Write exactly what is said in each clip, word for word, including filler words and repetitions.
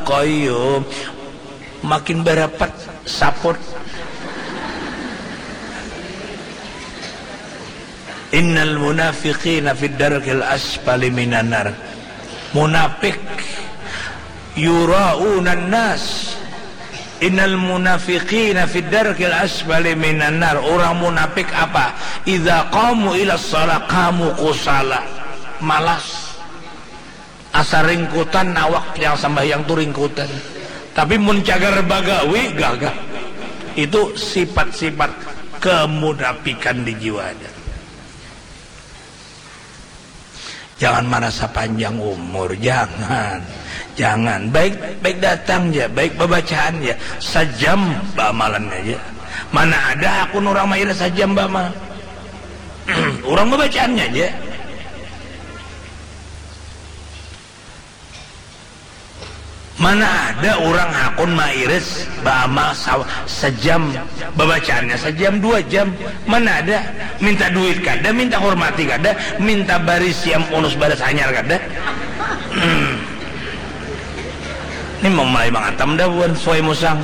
qayyum. Makin barapat saput. Innal munafiqina fid darkil asfali minan nar. Munafik yuraunan nas. Innal munafiqina fid darkil asfali minan nar. Orang munafik apa? Idza qamu ila shalah qamu kusala. Malas. Asa ringkutan awak yang sambahyang tu ringkutan. Tapi mun cagar bagawi gagah. Itu sifat-sifat kemunafikan di jiwa ada. Jangan marasa panjang umur, jangan. Jangan. Baik baik datang ja, baik babacaan ja. Sajam baamalan aja. Mana ada hakun urang mairis sajam baamal. Urang babacaannya aja. Mana ada urang hakun mairis baamal sa- sajam, babacaannya sajam dua jam. Mana ada? Minta duit kada, minta hormati kada, minta bari siam unus baras hanyar kada. Hmm. Ini mau mulai mangatam dah buan suai musang.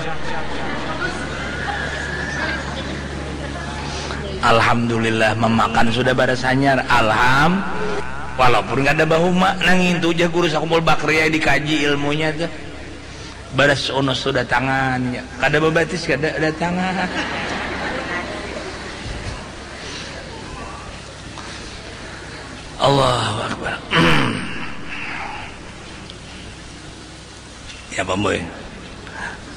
Alhamdulillah mamakan sudah baras hanyar. Alham Walaupun kada bahuma, nang ngintu ja guru sakumpul bakria dikaji ilmunya tuh. Baras unus tu datangan, ya. Kada babatis, kada datangan. Allahu Akbar. Ya, Bamboy.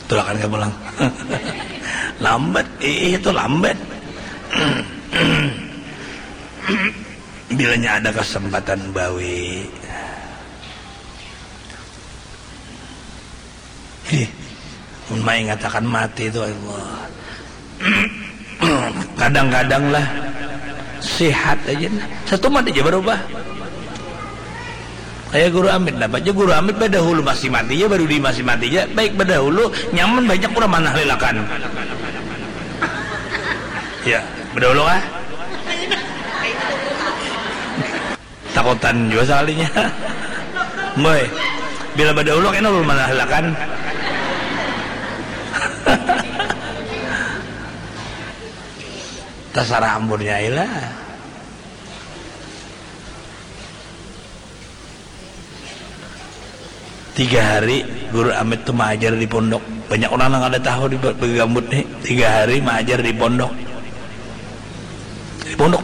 Tulakan ka pulang. Lambat, ih, itu lambat. Bilanya ada kesempatan bawi. Ih, mun maingatakan mati tu, Allah. Kadang-kadang lah, sihat aja nah. Satumat aja barubah. Kaya Guru Amit, dapat ja Guru Amit badahulu masih mati ja, badudi masih mati ja. Baik badahulu, nyaman banyak urang manahlilakan. Ya, badahulu kah? Takutan jua sakalinya. Boy, bila badahulu kena ulun manahlilakan. Tasarah ampun nyai lah. Tiga hari Guru Amit tu maajar di pondok. Banyak urang nang kada tahu di ba- bagambut nih. Tiga hari maajar di pondok. Di pondok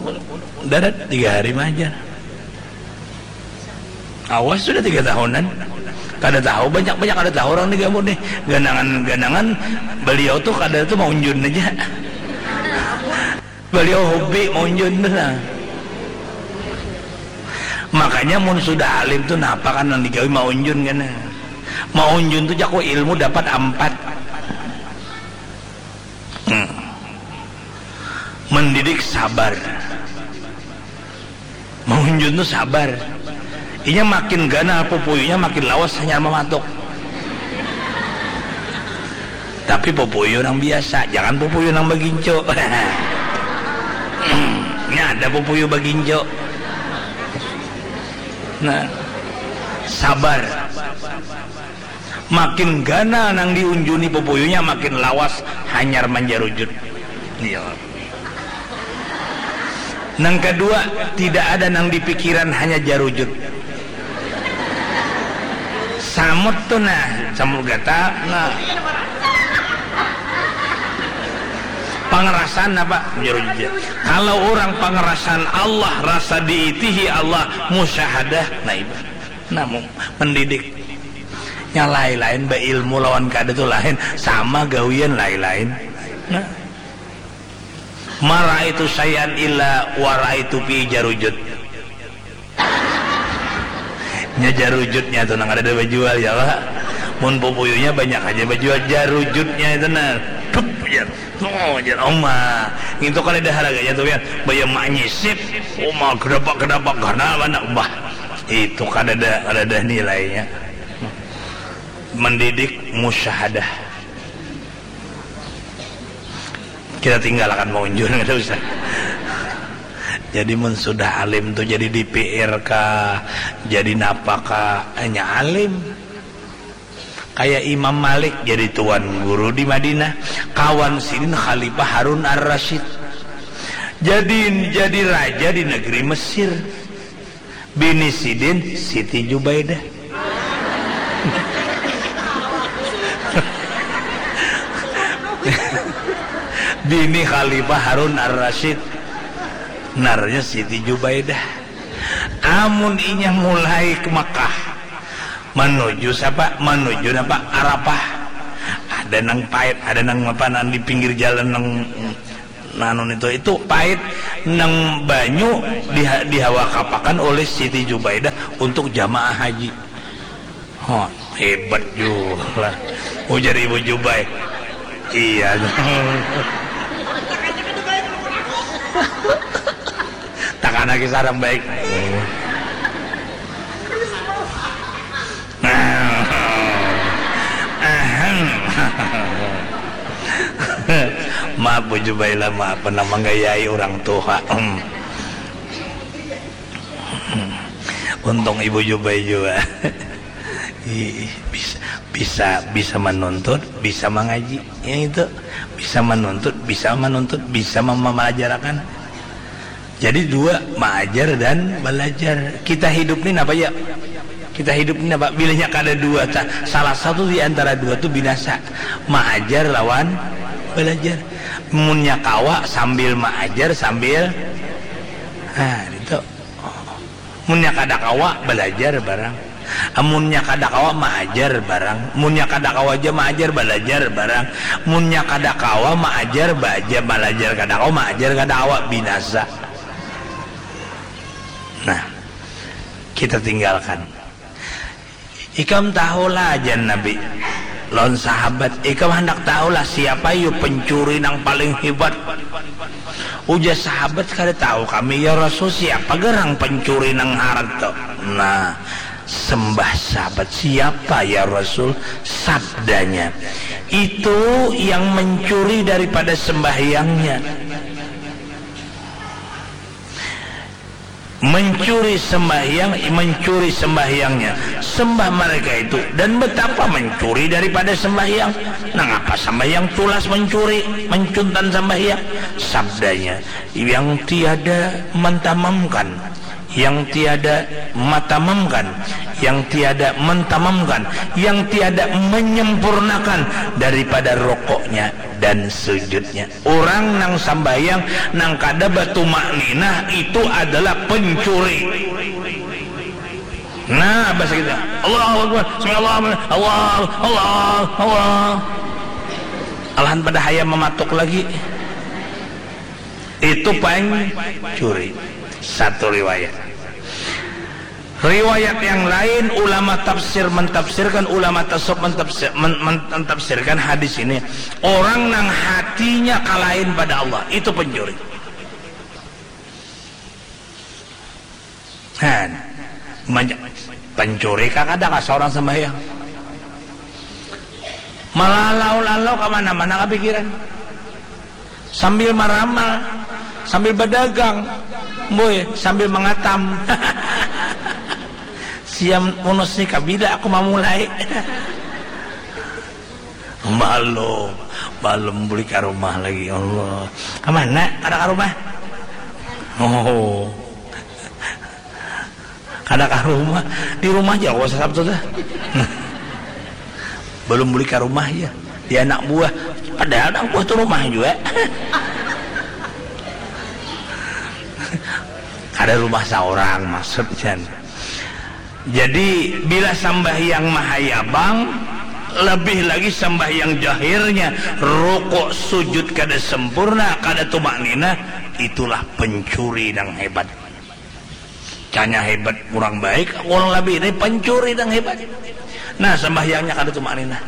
darat tiga hari maajar. Awas sudah tiga tahunan. Kada tahu, banyak-banyak kada tahu urang di gambut nih. Ganangan-ganangan beliau tu kada tu maunjun aja. Beliau hobi maunjun tu nah. Makanya mun sudah alim tu napa kan nang digawi maunjun kena. Maunjun tu jaku ilmu dapat ampat. Hmm. Mendidik sabar. Maunjun tu sabar. Inya makin ganal pupuyunya makin lawas hanyar mamatuk. Tapi pupuyu nang biasa, jangan pupuyu nang bagincu. Nya ada pupuyu bagincu. Nah, sabar. Makin ganal nang diunjuni pupuyunya makin lawas hanyar manjarujut. Iya. Nang kadua, tidak ada nang dipikiran, hanya jarujut. Samut tu nah, samut gata nah. Pangerasan apa? Jarujut. Kalau orang pangerasan Allah, rasa diitihi Allah, musyahadah, nah itu. Nah, mendidik. Nya lain-lain, beilmu lawan kada tu lain, sama gawian lain-lain. Nah. Ma ra'aitu syai'an illa wa ra'aitu fi jarujut. Nya jarujutnya tu nang kadada bajual ya, Pak. Mun pupuyunya banyak aja bajual, jarujutnya itu nah. Dup, jar. Oh, jar, oma. Ngintu kadada harganya tu ya. Baya manyisip. Oma, kedapak-kedapak karena anak bah. Itu kadada, kadada nilainya. Mendidik musyahadah. Kita tinggalkan pengunjung, kada usah. Jadi mun sudah alim tu jadi D P R kah, jadi napa kah, hanya alim. Kaya Imam Malik jadi tuan guru di Madinah, kawan sidin Khalifah Harun Ar-Rasyid. Jadi, jadi raja di negeri Mesir. Bini sidin Siti Jubaidah. Bini Khalifah Harun Ar-Rasyid. Ngarannya Siti Jubaidah. Amun inya mulai ke Mekah, manuju sapa? Manuju napa? Arafah. Ada nang pait, ada nang apa, nang di pinggir jalan nang, nanu nitu, itu pait, nang banyu diha-, dihawakapakan oleh Siti Jubaidah untuk jamaah haji. Hah, hebat jua lah. Ujar Ibu Jubai. Iya. Takana kisah orang baik. Maaf, Bu Jubaila, maaf, pernah manggayai orang tuha. Untung Ibu Jubai jua. Ih, bisa, bisa, bisa manuntut, bisa mangaji. Yang itu, bisa manuntut, bisa manuntut, bisa mem-, mamalajarakan. Jadi dua, maajar dan balajar. Kita hidup ni napa ya? Kita hidup ni napa? Bilanya kada dua, ta-, salah satu di antara dua tu binasa. Maajar lawan balajar. Munnya kawa sambil maajar, sambil, nah, itu. Munnya kada kawa, balajar barang. Amunnya kada kawa, maajar barang. Munnya kada kawa ja maajar, balajar barang. Munnya kada kawa maajar, baja, balajar kada kawa, maajar kada kawa, binasa. Nah, kita tinggalkan. Ikam tahulah, jan Nabi lawan sahabat, ikam handak tahulah siapa yu pencuri nang paling hebat. Ujar sahabat, kada tahu kami, ya Rasul, siapa garang pencuri nang harat tu? Nah, sembah sahabat, siapa ya Rasul? Sabdanya, itu yang mencuri daripada sembahyangnya. Mencuri sembahyang, mencuri sembahyangnya. Sembah mereka itu. Dan betapa mencuri daripada sembahyang. Nangapa sembahyang tulas mencuri, mencuntan sembahyang? Sabdanya, yang tiada mentamamkan, yang tiada matamamkan, yang tiada mentamamkan, yang tiada menyempurnakan daripada rokoknya dan sujudnya. Orang nang sambahyang nang kada batumakninah itu adalah pencuri. Nah, bahasa kita, Allahu Akbar, sami Allahu liman, Allah, Allah, Allah. Alahan pada hayam mamatuk lagi. Itu pancuri. Satu riwayat. Riwayat yang lain, ulama tafsir mentafsirkan, ulama tasawuf mentafsir, men-, men-, mentafsirkan hadis ini. Orang nang hatinya kalain pada Allah, itu pencuri. Nah, banyak pencuri kah kada kah seorang sembahyang? Malalau-lalau ka mana-mana kapikiran. Sambil maramal, sambil badagang, boy, sambil mangatam. Siam unus ni kabida aku mamulai. Balum, balum buli ka rumah lagi, Allah. Ka mana? Kada ka rumah? Oh. Kada ka rumah. Di rumah ja, Sabtu tuh. Balum buli ka rumah, ya. Di anak buah. Padahal anak buah tuh rumah jua. Kada rumah saurang, maksudnya. Jadi, bila sambahyang mahayabang, lebih lagi sambahyang jahirnya, rukuk sujud kada sempurna, kada tumakninah, itulah pencuri nang hebat. Canya hebat, kurang baik, kurang lebih ini pencuri nang hebat. Nah, sambahyangnya kada tumakninah.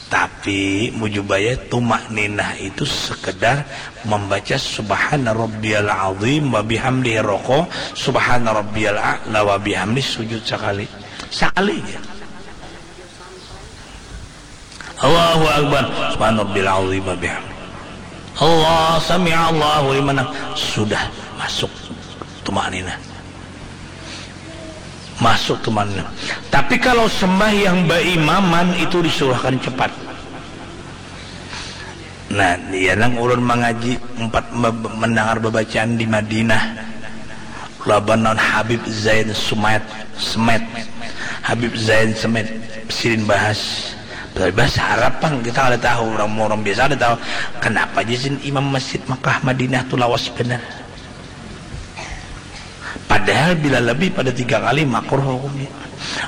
Tapi, mujubaya, tumakninah itu sekedar membaca Subhana Rabbiyal Azim wa bihamdihi roko, Subhana Rabbiyal A'la wa bihamdi sujud sakali. Sakali ja. Allahu Akbar, Subhana Rabbiyal Azim wa bihamdi. Allah, sami Allahu liman ham-, sudah masuk tumakninah. Masuk tu mana. Tapi kalau sembahyang baimaman itu disuruhkan cepat. Nah, ya nang ulun mangaji empat mendengar babacaan di Madinah laban naon Habib Zain Sumet, Semet. Habib Zain Semet sidin bahas. Tapi bahasa Arab pang, kita kada tahu, orang orang biasa kada tahu. Kenapa aja sin imam masjid Makkah Madinah tu lawas benar. Padahal bila lebih pada tiga kali makruh hukumnya.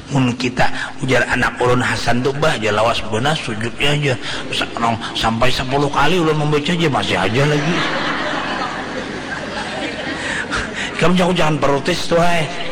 Mun kita ujar anak ulun Hasan tu bah aja lawas benar sujudnya aja. Sa- orang sampai sepuluh kali ulun membaca aja masih aja lagi. Kamu jangan jangan protes tuh hai.